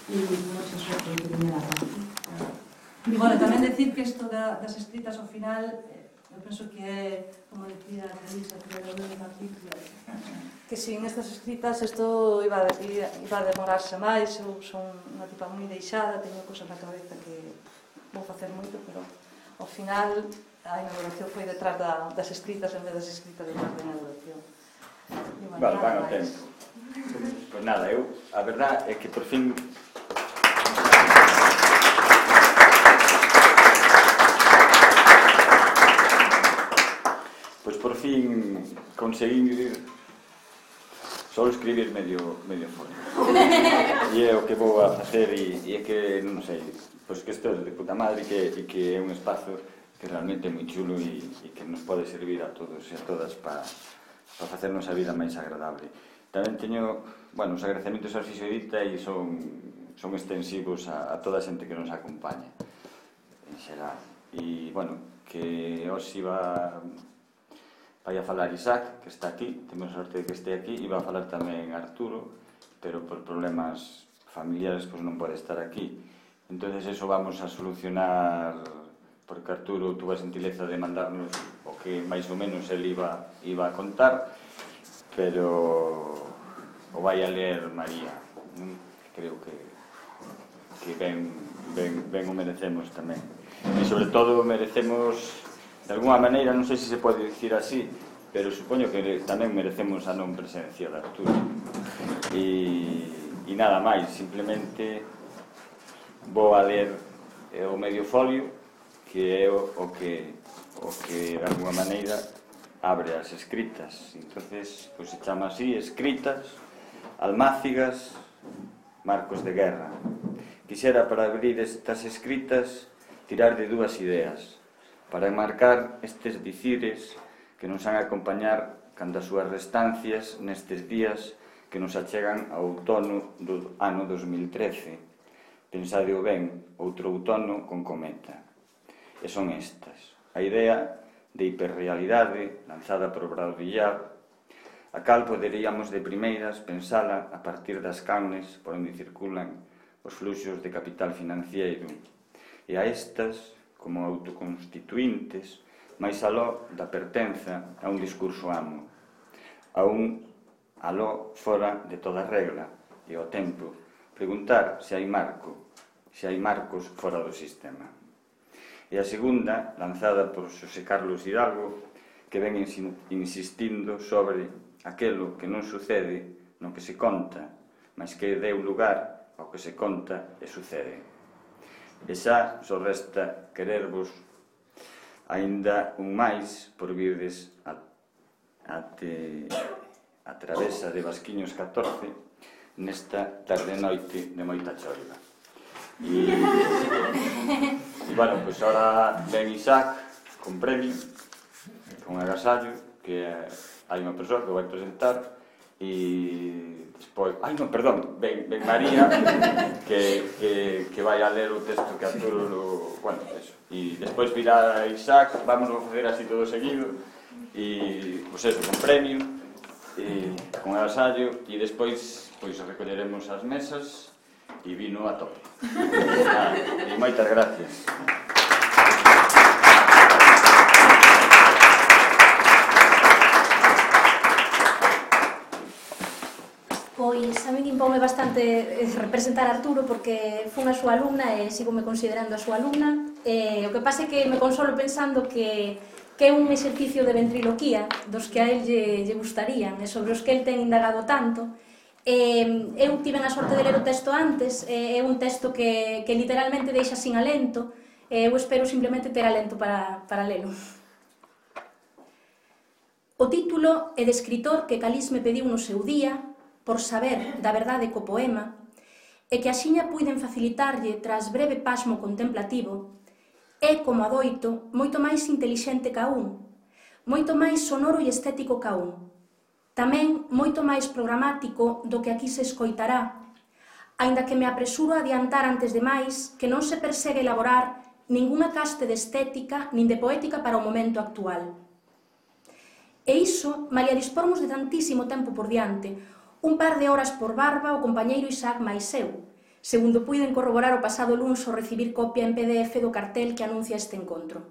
e non se suerte de primeira parte. E, bueno, tamén decir que isto das escritas ao final, eu penso que é, como decía a Elisa, que era un capítulo, que sin estas escritas isto iba a demorarse máis. Eu son unha tipa moi deixada, teño cosas na cabeza que vou facer moito, pero ao final a inauguración foi detrás das escritas en vez das escritas detrás da inauguración. Vale, van ao tempo. Pois nada, a verdad é que por fin conseguir só escribir medio folio. E é o que vou a facer e é que, non sei, pois que isto é de puta madre e que é un espazo que realmente é moi chulo e que nos pode servir a todos e a todas para facernos a vida máis agradable. Tamén teño, bueno, os agradecementos ao Fixoedita e son extensivos a toda a xente que nos acompaña en xeral. E, bueno, que hoxe vai a falar Isaac, que está aquí, temos a sorte de que este aquí, e vai a falar tamén Arturo, pero por problemas familiares pois non pode estar aquí. Entonces eso vamos a solucionar, porque Arturo tuvo a gentileza de mandarnos o que máis ou menos ele iba a contar, pero o vai a ler María. Creo que ben o merecemos tamén. E sobre todo merecemos, de alguma maneira, non sei se se pode dicir así, pero supoño que tamén merecemos a non presencia de Arturo. E nada máis, simplemente vou a ler o medio folio, que é o que de alguma maneira abre as escritas. Entonces, pois se chama así, Escritas, Almácigas, Marcos de Guerra. Quixera, para abrir estas escritas, tirar de dúas ideas, para enmarcar estes dicires que nos han a acompañar cando as súas restancias nestes días que nos achegan ao outono do ano 2013. Pensadeo ben, outro outono con cometa. E son estas: a idea de hiperrealidade lanzada por Baudrillard, a cal poderíamos de primeiras pensala a partir das canles por onde circulan os fluxos de capital financiero, e a estas como autoconstituintes, máis aló da pertenza a un discurso amo, a un aló fora de toda regla, e ao tempo preguntar se hai marcos fora do sistema. E a segunda, lanzada por Xosé Carlos Hidalgo, que ven insistindo sobre aquelo que non sucede no que se conta, mas que deu lugar ao que se conta e sucede. E xa só resta querervos aínda un máis por virdes até a travesa de Vasquiños 14 nesta tarde-noite de moita choiva. E bueno, pois ahora ven Isaac con premio, con agasallo, que hai unha persoa que vai presentar, e despois, ven María que vai a ler o texto que Arturo, bueno, eso, e despois virá Isaac, vamos a facer así todo seguido, e, pois eso, con premio, e con agasallo, e despois, pois, recolleremos as mesas e vino a tope. E moitas gracias. Pois a min impoume bastante representar a Arturo porque fui a súa alumna e sigo me considerando a súa alumna. O que pasa é que me consolo pensando que é un exercicio de ventriloquía dos que a él lle gustarían e sobre os que el ten indagado tanto. Eu tiven a sorte de ler o texto antes, é un texto que literalmente deixa sin alento, eu espero simplemente ter alento para lelo. O título é de escritor que Calís me pediu no seu día por saber da verdade co poema e que axiña puiden facilitarlle tras breve pasmo contemplativo, é, como adoito, moito máis intelixente ca un, moito máis sonoro e estético ca un, tamén moito máis programático do que aquí se escoitará, aínda que me apresuro a adiantar antes de máis que non se persegue elaborar ningunha caste de estética nin de poética para o momento actual. E iso, malia dispormos de tantísimo tempo por diante, un par de horas por barba o compañeiro Isaac máis eu, segundo puiden corroborar o pasado luns ao recibir copia en PDF do cartel que anuncia este encontro.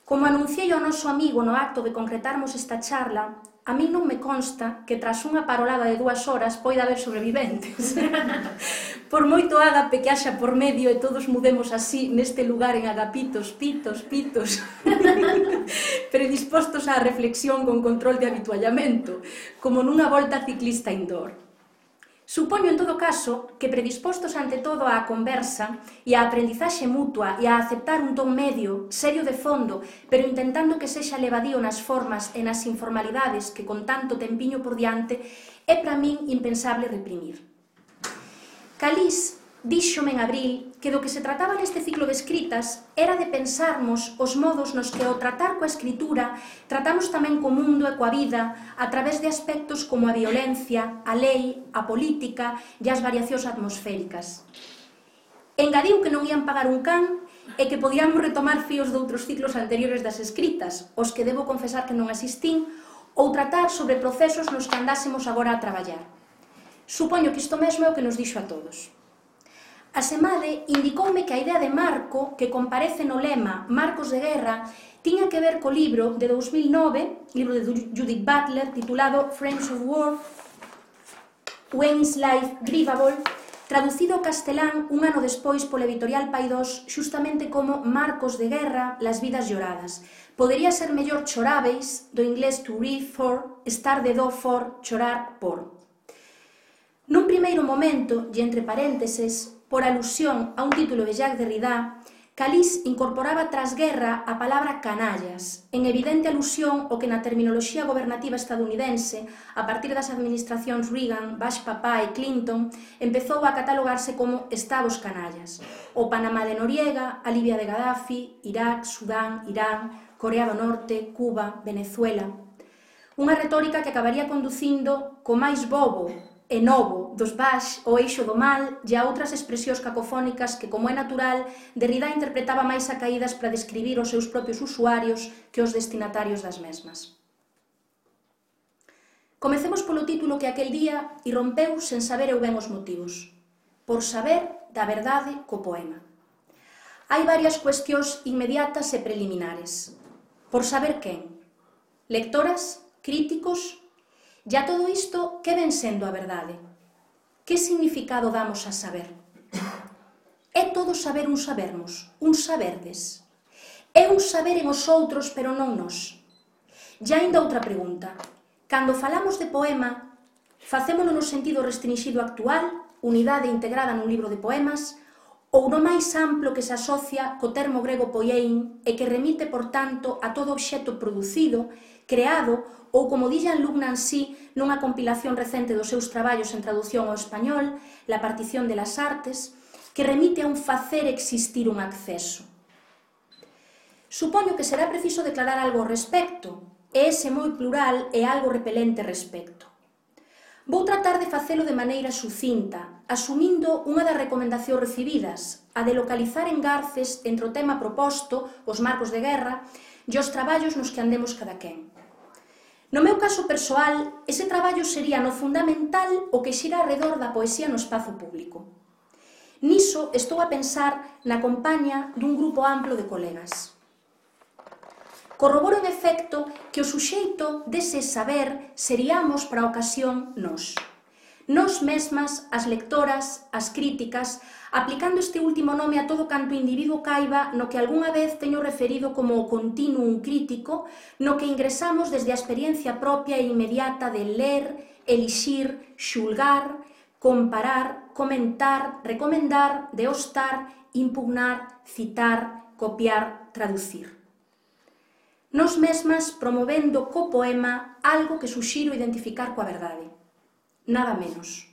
Como anunciei ao noso amigo no acto de concretarmos esta charla, a mí non me consta que tras unha parolada de 2 horas poida haber sobreviventes. Por moito ágape que haxa por medio e todos mudemos así neste lugar en agapitos, pitos, predispostos á reflexión con control de habituallamento, como nunha volta ciclista indoor. Supoño, en todo caso, que predispostos ante todo á conversa e á aprendizaxe mutua e a aceptar un ton medio, serio de fondo, pero intentando que sexa levadío nas formas e nas informalidades que con tanto tempiño por diante, é para min impensable reprimir. Calís díxome en abril que do que se trataba neste ciclo de escritas era de pensarmos os modos nos que ao tratar coa escritura tratamos tamén co mundo e coa vida a través de aspectos como a violencia, a lei, a política e as variacións atmosféricas. Engadiu que non ían pagar un can e que podíamos retomar fíos de outros ciclos anteriores das escritas, os que debo confesar que non asistín, ou tratar sobre procesos nos que andásemos agora a traballar. Supoño que isto mesmo é o que nos dixo a todos. A Semade indicoume que a idea de marco, que comparece no lema Marcos de Guerra, tiña que ver co libro de 2009, libro de Judith Butler, titulado Frames of War, When is Life Grievable, traducido ao castelán un ano despois pola editorial Paidós, xustamente como Marcos de Guerra, las vidas lloradas. Podería ser mellor choráveis, do inglés to grieve for, estar de do for, chorar por. Nun primeiro momento, e entre parénteses, por alusión a un título de Jacques Derrida, Calís incorporaba tras guerra a palabra canallas, en evidente alusión ao que na terminoloxía gobernativa estadounidense, a partir das administracións Reagan, Bush papá e Clinton, empezou a catalogarse como estados canallas. O Panamá de Noriega, a Libia de Gaddafi, Irak, Sudán, Irán, Corea do Norte, Cuba, Venezuela. Unha retórica que acabaría conducindo co máis bobo e novo dos Bush, o eixo do mal e a outras expresións cacofónicas que, como é natural, Derrida interpretaba máis a caídas para describir os seus propios usuarios que os destinatarios das mesmas. Comecemos polo título que aquel día irrompeu sen saber eu ben os motivos. Por saber da verdade co poema. Hai varias cuestións inmediatas e preliminares. Por saber quen? Lectoras? Críticos? E a todo isto, que ven sendo a verdade? Que significado damos a saber? É todo saber un sabermos, un saberdes. É un saber en os outros, pero non nos. E aínda outra pregunta. Cando falamos de poema, facémolo no sentido restringido actual, unidade integrada nun libro de poemas, ou no máis amplo que se asocia co termo grego poiein e que remite, por tanto, a todo obxecto producido, creado, ou como di Jean-Luc Nancy nunha compilación recente dos seus traballos en traducción ao español, La partición de las artes, que remite a un facer existir un acceso. Supoño que será preciso declarar algo ao respecto, e ese moi plural é algo repelente respecto. Vou tratar de facelo de maneira sucinta, asumindo unha das recomendacións recibidas, a de localizar engarces entre o tema proposto, os marcos de guerra, e os traballos nos que andemos cada quen. No meu caso persoal, ese traballo sería no fundamental o que xira arredor da poesía no espazo público. Niso estou a pensar na compañía dun grupo amplo de colegas. Corroboro en efecto que o suxeito dese saber seríamos para a ocasión nós. Nós mesmas, as lectoras, as críticas, aplicando este último nome a todo canto individuo caiba no que algunha vez teño referido como o continuum crítico, no que ingresamos desde a experiencia propia e inmediata de ler, elixir, xulgar, comparar, comentar, recomendar, deostar, impugnar, citar, copiar, traducir. Nós mesmas promovendo co poema algo que suxiro identificar coa verdade. Nada menos.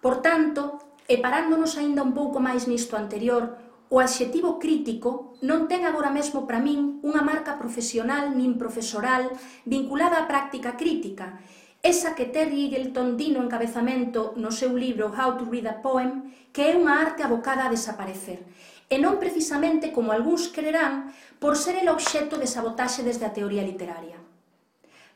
Por tanto, e parándonos aínda un pouco máis nisto anterior, o adxetivo crítico non ten agora mesmo para min unha marca profesional nin profesoral vinculada á práctica crítica, esa que Terry Eagleton di no encabezamento no seu libro How to Read a Poem, que é unha arte abocada a desaparecer, e non precisamente, como algúns quererán, por ser el obxecto de sabotaxe desde a teoría literaria.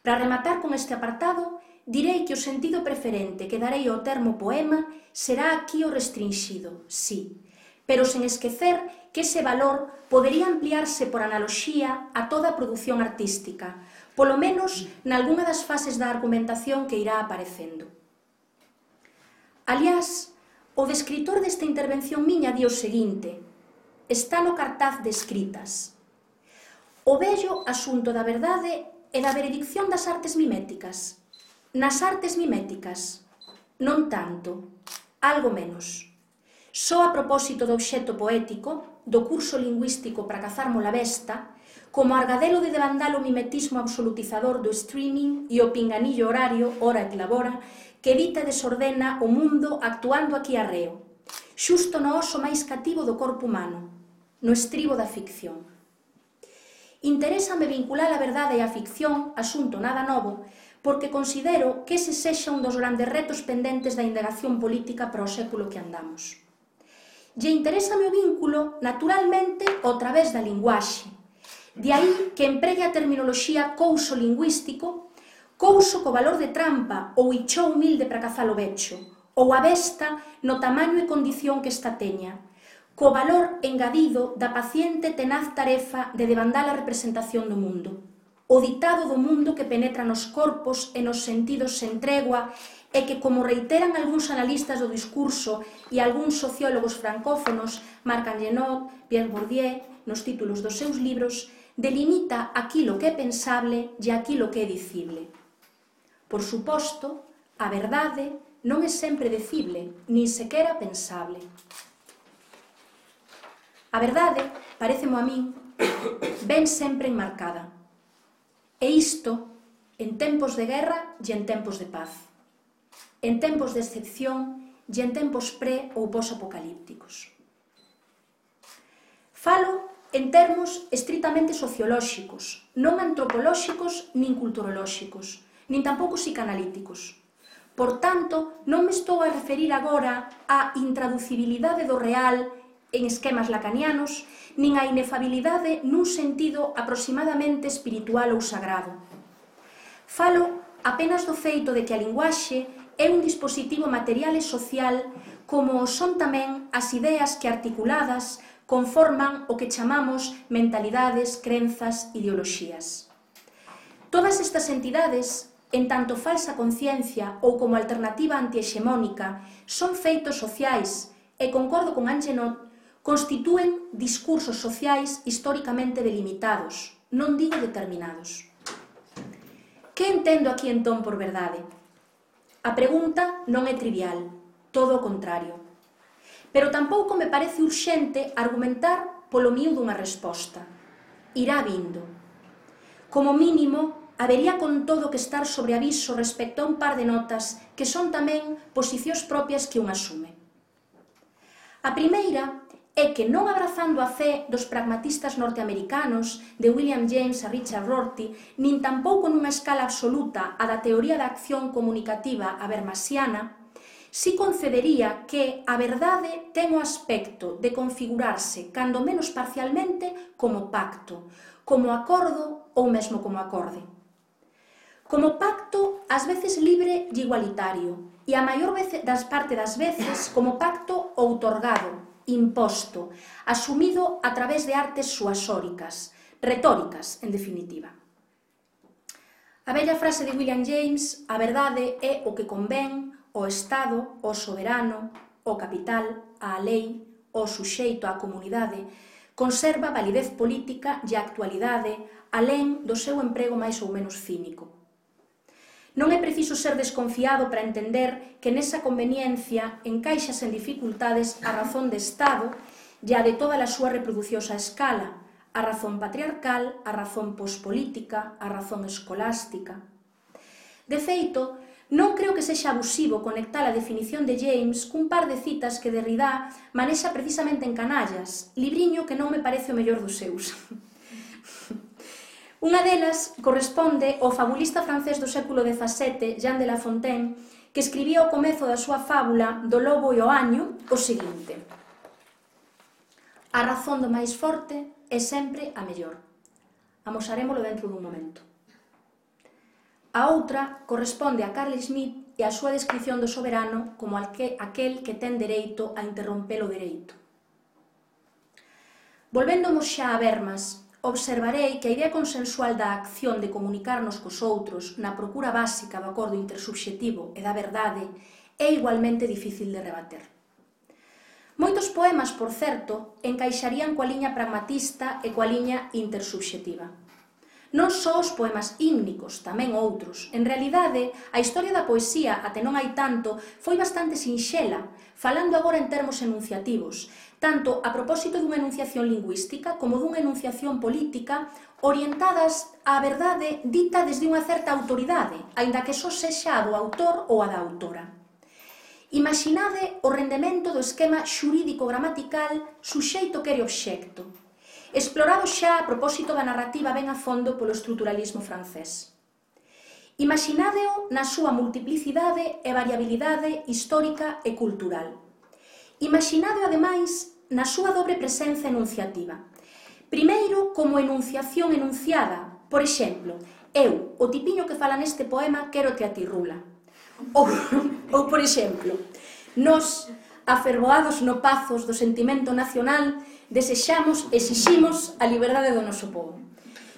Para rematar con este apartado, direi que o sentido preferente que darei ao termo poema será aquí o restringido, sí, pero sen esquecer que ese valor podería ampliarse por analoxía a toda a produción artística, polo menos nalgunha das fases da argumentación que irá aparecendo. Aliás, o descritor desta intervención miña di o seguinte: está no cartaz de escritas. O vello asunto da verdade e da veredicción das artes miméticas. Nas artes miméticas, non tanto, algo menos. Só a propósito do obxecto poético, do curso lingüístico para cazar molavesta, como argadelo de devandar o mimetismo absolutizador do streaming e o pinganillo horario, hora e clavora, que evita e desordena o mundo actuando aquí arreo, xusto no oso máis cativo do corpo humano, no estribo da ficción. Interésame vincular a verdade e a ficción, asunto nada novo, porque considero que ese sexa un dos grandes retos pendentes da indagación política para o século que andamos. E interésame o vínculo, naturalmente, ao través da linguaxe. De aí que empregue a terminoloxía couso lingüístico, couso co valor de trampa ou ichou humilde para cazar o becho, ou a besta no tamaño e condición que esta teña, co valor engadido da paciente tenaz tarefa de devandar a representación do mundo, o ditado do mundo que penetra nos corpos e nos sentidos sen tregua e que, como reiteran algúns analistas do discurso e algúns sociólogos francófonos, Marc Angenoux, Pierre Bourdieu, nos títulos dos seus libros, delimita aquilo que é pensable e aquilo que é dicible. Por suposto, a verdade non é sempre dicible, nin sequera pensable. A verdade, parécemo a min, ven sempre enmarcada. E isto en tempos de guerra e en tempos de paz, en tempos de excepción e en tempos pre- ou pos-apocalípticos. Falo en termos estritamente sociolóxicos, non antropolóxicos nin culturolóxicos, nin tampouco psicanalíticos. Por tanto, non me estou a referir agora á intraducibilidade do real en esquemas lacanianos, nin á inefabilidade nun sentido aproximadamente espiritual ou sagrado. Falo apenas do feito de que a linguaxe é un dispositivo material e social como son tamén as ideas que articuladas conforman o que chamamos mentalidades, crenzas, ideoloxías. Todas estas entidades, en tanto falsa conciencia ou como alternativa antihexemónica, son feitos sociais e, concordo con Angenoux, constitúen discursos sociais históricamente delimitados, non digo determinados. Que entendo aquí entón por verdade? A pregunta non é trivial, todo o contrario. Pero tampouco me parece urxente argumentar polo miúdo dunha resposta. Irá vindo. Como mínimo, habería con todo que estar sobre aviso respecto a un par de notas que son tamén posicións propias que un asume. A primeira é que non abrazando a fe dos pragmatistas norteamericanos de William James a Richard Rorty, nin tampouco nunha escala absoluta a da teoría da acción comunicativa habermasiana, si concedería que a verdade ten o aspecto de configurarse, cando menos parcialmente, como pacto, como acordo ou mesmo como acorde. Como pacto, ás veces libre e igualitario, e a maior parte das veces como pacto outorgado, imposto, asumido a través de artes suasóricas, retóricas, en definitiva. A bella frase de William James, a verdade é o que convén, o Estado, o soberano, o capital, a lei, o suxeito, a comunidade, conserva validez política e actualidade alén do seu emprego máis ou menos cínico. Non é preciso ser desconfiado para entender que nesa conveniencia encaixas en dificultades a razón de Estado e a de toda a súa reproducións a escala, a razón patriarcal, a razón pospolítica, a razón escolástica. De feito, non creo que sexa abusivo conectar a definición de James cun par de citas que Derrida manexa precisamente en Canallas, libriño que non me parece o mellor dos seus. Unha delas corresponde ao fabulista francés do século XVII, Jean de La Fontaine, que escribía ao comezo da súa fábula do lobo e o año o seguinte: a razón do máis forte é sempre a mellor. Amosarémolo dentro dun momento. A outra corresponde a Carl Schmitt e a súa descripción do soberano como aquel que ten dereito a interromper o dereito. Volvéndonos xa a Habermas, observarei que a idea consensual da acción de comunicarnos cos outros na procura básica do acordo intersubxetivo e da verdade é igualmente difícil de rebater. Moitos poemas, por certo, encaixarían coa liña pragmatista e coa liña intersubxetiva. Non só os poemas ímnicos, tamén outros. En realidade, a historia da poesía, até non hai tanto, foi bastante sinxela, falando agora en termos enunciativos, tanto a propósito dunha enunciación lingüística como dunha enunciación política, orientadas á verdade dita desde unha certa autoridade, aínda que só sexa a do autor ou a da autora. Imaginade o rendemento do esquema xurídico-gramatical suxeito quere obxecto, explorado xa a propósito da narrativa ben a fondo polo estruturalismo francés. Imaginádeo na súa multiplicidade e variabilidade histórica e cultural. Imaginádeo, ademais, na súa dobre presenza enunciativa. Primeiro, como enunciación enunciada. Por exemplo, eu, o tipiño que fala neste poema, quérote a ti, Rula. Ou, por exemplo, nos, afervoados no pazos do sentimento nacional, desexamos, exiximos a liberdade do noso povo.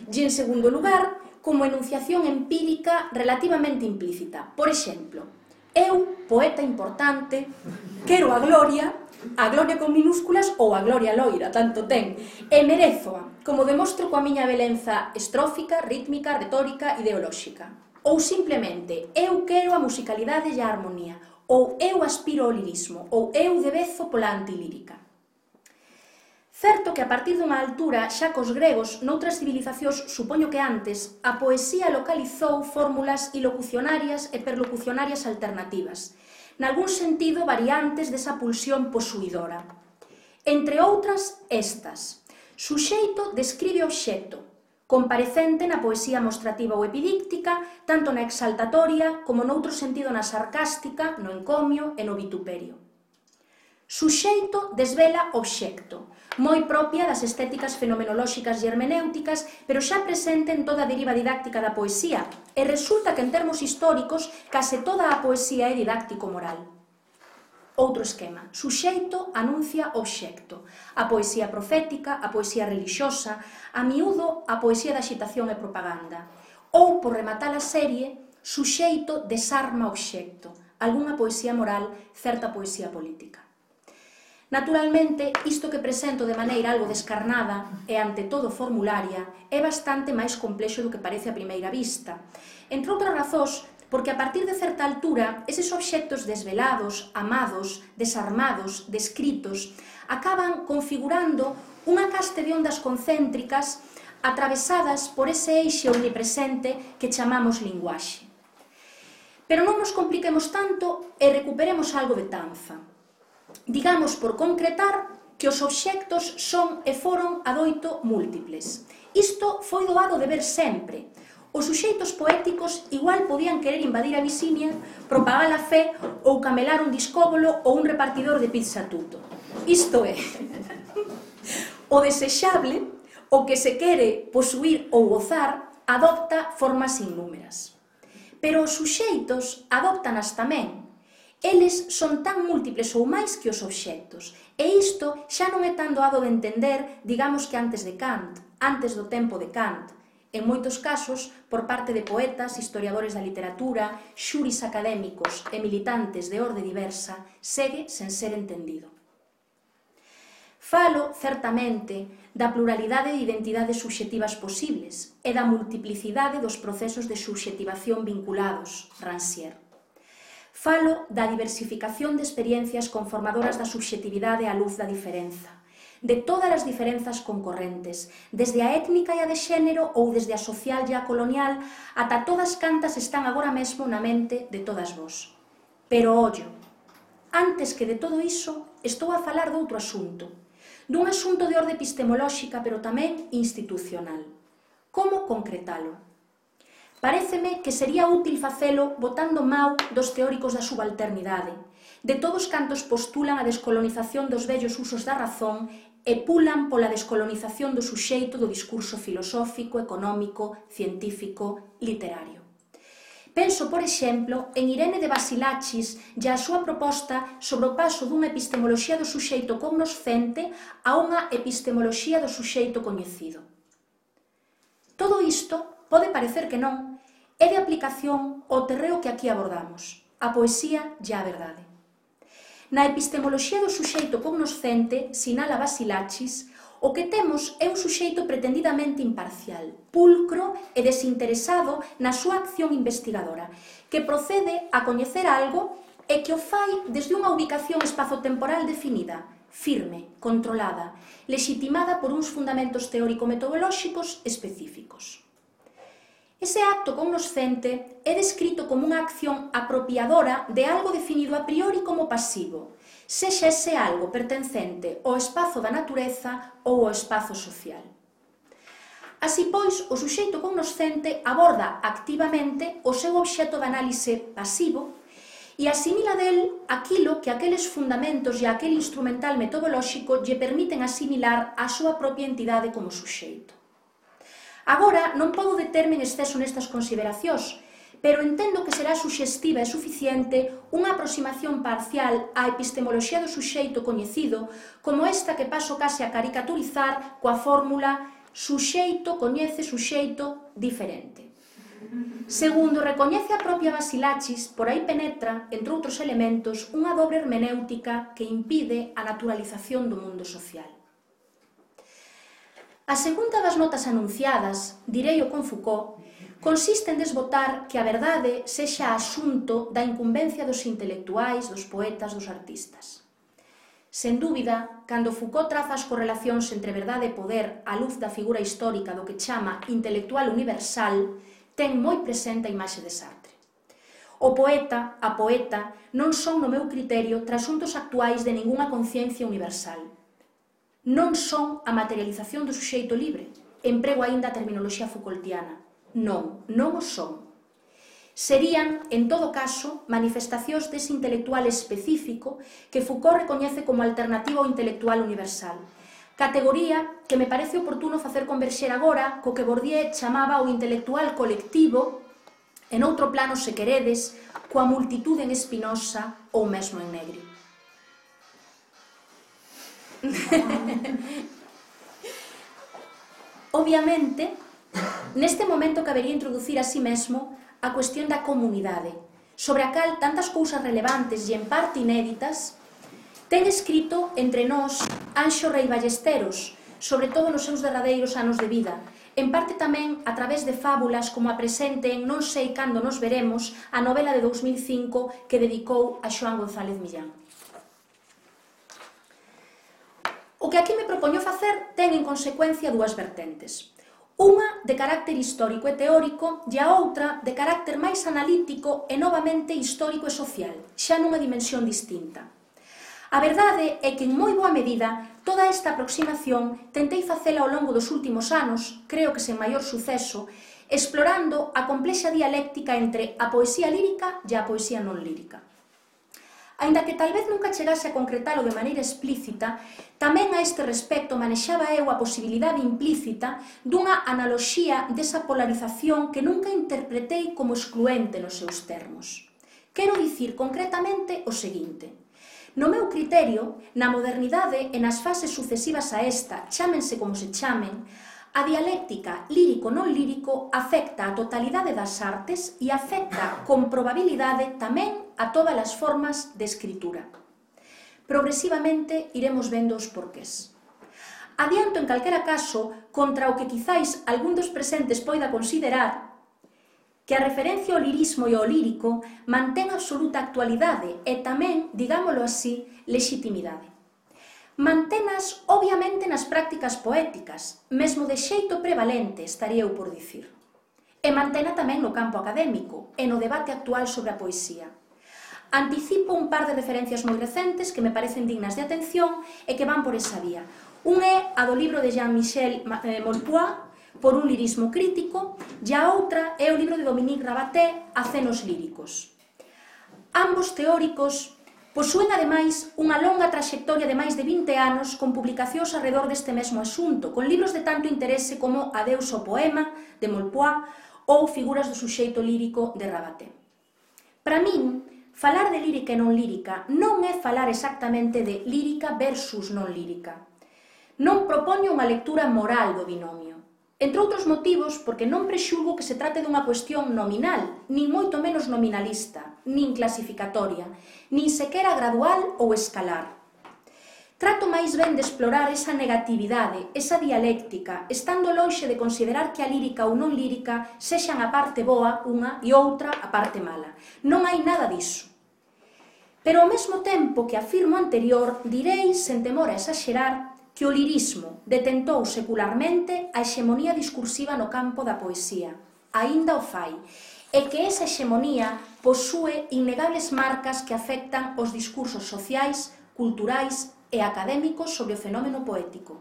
E, en segundo lugar, como enunciación empírica relativamente implícita. Por exemplo, eu, poeta importante, quero a gloria con minúsculas ou a gloria loira, tanto ten, e merezoa, como demostro coa miña belenza estrófica, rítmica, retórica, ideolóxica. Ou simplemente, eu quero a musicalidade e a armonía, ou eu aspiro ao lirismo, ou eu debezo pola antilírica. Certo que a partir dunha altura, xa cos gregos, noutras civilizacións, supoño que antes, a poesía localizou fórmulas ilocucionarias e perlocucionarias alternativas, nalgún sentido variantes desa pulsión posuidora. Entre outras, estas. Suxeito describe obxecto, comparecente na poesía mostrativa ou epidíctica, tanto na exaltatoria como noutro sentido na sarcástica, no encomio e no vituperio. Suxeito desvela obxecto, moi propia das estéticas fenomenolóxicas e hermenéuticas, pero xa presente en toda a deriva didáctica da poesía, e resulta que en termos históricos case toda a poesía é didáctico-moral. Outro esquema, suxeito anuncia obxecto, a poesía profética, a poesía relixiosa, a miúdo a poesía da xitación e propaganda, ou, por rematar a serie, suxeito desarma obxecto, algunha poesía moral, certa poesía política. Naturalmente, isto que presento de maneira algo descarnada e ante todo formularia é bastante máis complexo do que parece a primeira vista. Entre outras razóns, porque a partir de certa altura, eses obxectos desvelados, amados, desarmados, descritos, acaban configurando unha caste de ondas concéntricas atravesadas por ese eixe omnipresente que chamamos linguaxe. Pero non nos compliquemos tanto e recuperemos algo de tanza. Digamos, por concretar, que os obxectos son e foron adoito múltiples. Isto foi doado de ver sempre. Os suxeitos poéticos igual podían querer invadir a visiña, propagar a fe ou camelar un discóbolo ou un repartidor de pizza tuto. Isto é, o desexable, o que se quere posuir ou gozar, adopta formas innúmeras. Pero os suxeitos adoptanas tamén. Eles son tan múltiples ou máis que os obxectos, e isto xa non é tan doado de entender, digamos que antes de Kant, antes do tempo de Kant, en moitos casos por parte de poetas, historiadores da literatura, xuris académicos e militantes de orde diversa, segue sen ser entendido. Falo, certamente, da pluralidade de identidades subxetivas posibles e da multiplicidade dos procesos de subxetivación vinculados, Rancière. Falo da diversificación de experiencias conformadoras da subxetividade á luz da diferenza, de todas as diferenzas concorrentes, desde a étnica e a de xénero ou desde a social e a colonial, ata todas cantas están agora mesmo na mente de todas vós. Pero, ollo, antes que de todo iso, estou a falar doutro asunto, dun asunto de orde epistemolóxica, pero tamén institucional. Como concretalo? Paréceme que sería útil facelo botando mau dos teóricos da subalternidade, de todos cantos postulan a descolonización dos vellos usos da razón e pulan pola descolonización do suxeito do discurso filosófico, económico, científico, literario. Penso, por exemplo, en Irene de Basilachis e a súa proposta sobre o paso dunha epistemoloxía do suxeito cognoscente a unha epistemoloxía do suxeito coñecido. Todo isto, pode parecer que non, é de aplicación ao terreo que aquí abordamos, a poesía e a verdade. Na epistemoloxía do suxeito cognoscente, sinala Basilachis, o que temos é un suxeito pretendidamente imparcial, pulcro e desinteresado na súa acción investigadora, que procede a coñecer algo e que o fai desde unha ubicación espazotemporal definida, firme, controlada, lexitimada por uns fundamentos teórico-metodolóxicos específicos. Ese acto cognoscente é descrito como unha acción apropiadora de algo definido a priori como pasivo, sexa ese algo pertencente ao espazo da natureza ou ao espazo social. Así pois, o suxeito cognoscente aborda activamente o seu obxecto de análise pasivo e asimila del aquilo que aqueles fundamentos e aquel instrumental metodolóxico lle permiten asimilar a súa propia entidade como suxeito. Agora, non podo determe en exceso nestas consideracións, pero entendo que será suxestiva e suficiente unha aproximación parcial á epistemoloxía do suxeito coñecido como esta que paso case a caricaturizar coa fórmula suxeito coñece suxeito diferente. Segundo recoñece a propia Basilachis, por aí penetra, entre outros elementos, unha dobre hermenéutica que impide a naturalización do mundo social. A segunda das notas anunciadas, direi-o con Foucault, consiste en desbotar que a verdade sexa asunto da incumbencia dos intelectuais, dos poetas, dos artistas. Sen dúbida, cando Foucault traza as correlacións entre verdade e poder á luz da figura histórica do que chama intelectual universal, ten moi presente a imaxe de Sartre. O poeta, a poeta, non son, no meu criterio, trasuntos actuais de ningunha conciencia universal. Non son a materialización do suxeito libre, emprego aínda a terminoloxía Foucaultiana. Non, non o son. Serían, en todo caso, manifestacións dese intelectual específico que Foucault recoñece como alternativa ao intelectual universal, categoría que me parece oportuno facer converxer agora co que Bourdieu chamaba o intelectual colectivo, en outro plano, se queredes, coa multitude en Spinoza ou mesmo en Negri. Obviamente, neste momento cabería introducir así mesmo a cuestión da comunidade, sobre a cal tantas cousas relevantes e en parte inéditas ten escrito entre nós Anxo Rei Ballesteros, sobre todo nos seus derradeiros anos de vida, en parte tamén a través de fábulas como a presente en Non sei cando nos veremos, a novela de 2005 que dedicou a Xoán González Millán. O que aquí me propoño facer ten en consecuencia dúas vertentes. Unha de carácter histórico e teórico e a outra de carácter máis analítico e novamente histórico e social, xa nunha dimensión distinta. A verdade é que en moi boa medida toda esta aproximación tentei facela ao longo dos últimos anos, creo que sen maior suceso, explorando a complexa dialéctica entre a poesía lírica e a poesía non lírica. Aínda que tal vez nunca chegase a concretalo de maneira explícita, tamén a este respecto manexaba eu a posibilidade implícita dunha analoxía desa polarización que nunca interpretei como excluente nos seus termos. Quero dicir concretamente o seguinte: no meu criterio, na modernidade e nas fases sucesivas a esta, chámense como se chamen, a dialéctica lírico-non lírico afecta a totalidade das artes e afecta con probabilidade tamén a todas as formas de escritura. Progresivamente iremos vendo os porqués. Adianto en calquera caso, contra o que quizáis algún dos presentes poida considerar, que a referencia ao lirismo e ao lírico mantén absoluta actualidade e tamén, digámolo así, lexitimidade. Mantenas, obviamente, nas prácticas poéticas, mesmo de xeito prevalente, estaría eu por dicir. E mantena tamén no campo académico e no debate actual sobre a poesía. Anticipo un par de referencias moi recentes que me parecen dignas de atención e que van por esa vía. Un é a do libro de Jean-Michel Molpois, Por un lirismo crítico, e a outra é o libro de Dominique Rabaté, Acenos líricos. Ambos teóricos posúen, ademais, unha longa traxectoria de máis de 20 anos con publicacións arredor deste mesmo asunto, con libros de tanto interese como Adeus ao poema, de Molpois, ou figuras do suxeito lírico de Rabaté. Para min, falar de lírica e non lírica non é falar exactamente de lírica versus non lírica. Non propoño unha lectura moral do binomio. Entre outros motivos, porque non prexulgo que se trate dunha cuestión nominal, nin moito menos nominalista, nin clasificatoria, nin sequera gradual ou escalar. Trato máis ben de explorar esa negatividade, esa dialéctica, estando lonxe de considerar que a lírica ou non lírica sexan a parte boa unha e outra a parte mala. Non hai nada diso. Pero ao mesmo tempo que afirmo anterior, direi, sen temor a exaxerar, que o lirismo detentou secularmente a hexemonía discursiva no campo da poesía, aínda o fai, e que esa hexemonía posúe innegables marcas que afectan os discursos sociais, culturais e académicos sobre o fenómeno poético.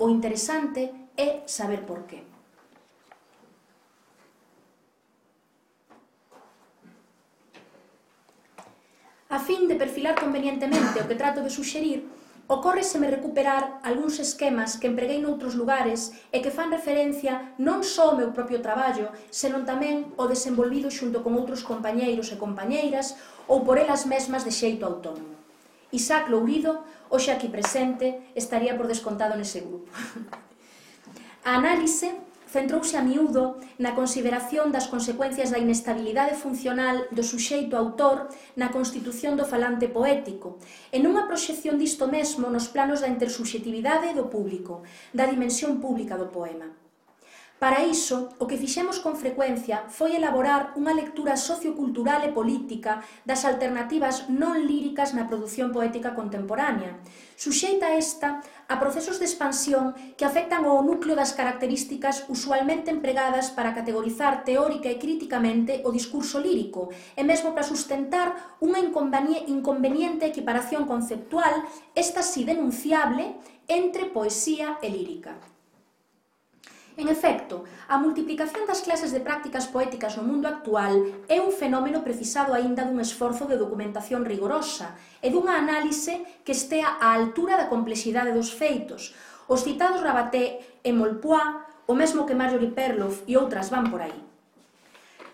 O interesante é saber por qué. A fin de perfilar convenientemente o que trato de suxerir, ocórreseme recuperar algúns esquemas que empreguei noutros lugares e que fan referencia non só ao meu propio traballo, senón tamén ao desenvolvido xunto con outros compañeiros e compañeiras ou por elas mesmas de xeito autónomo. Isaac Lourido, hoxe aquí presente, estaría por descontado nese grupo. A análise centrouse a miúdo na consideración das consecuencias da inestabilidade funcional do suxeito autor na constitución do falante poético e nunha proxección disto mesmo nos planos da intersubxetividade do público, da dimensión pública do poema. Para iso, o que fixemos con frecuencia foi elaborar unha lectura sociocultural e política das alternativas non líricas na produción poética contemporánea, suxeita esta a procesos de expansión que afectan ao núcleo das características usualmente empregadas para categorizar teórica e críticamente o discurso lírico e mesmo para sustentar unha inconveniente equiparación conceptual, esta si denunciable, entre poesía e lírica. En efecto, a multiplicación das clases de prácticas poéticas no mundo actual é un fenómeno precisado aínda dun esforzo de documentación rigorosa e dunha análise que estea á altura da complexidade dos feitos. Os citados Rabaté e Maupois, o mesmo que Marjorie Perloff e outras van por aí.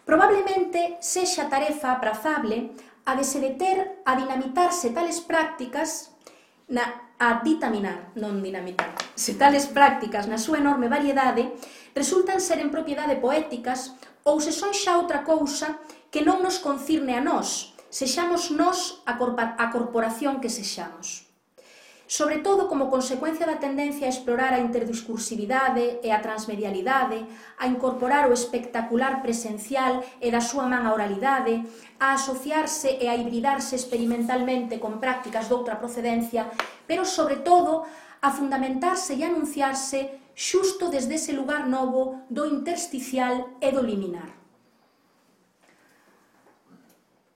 Probablemente sexa tarefa aprazable a de se deter a dinamitarse tales prácticas Se tales prácticas na súa enorme variedade resultan ser en propiedade poéticas ou se son xa outra cousa que non nos concirne a nós, sexamos nós a corporación que sexamos. Sobre todo como consecuencia da tendencia a explorar a interdiscursividade e a transmedialidade, a incorporar o espectacular presencial e da súa man a oralidade, a asociarse e a hibridarse experimentalmente con prácticas doutra procedencia, pero sobre todo a fundamentarse e anunciarse xusto desde ese lugar novo do intersticial e do liminar.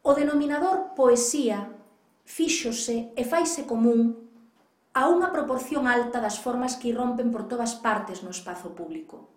O denominador poesía fíxose e faise común a unha proporción alta das formas que irrompen por todas partes no espazo público.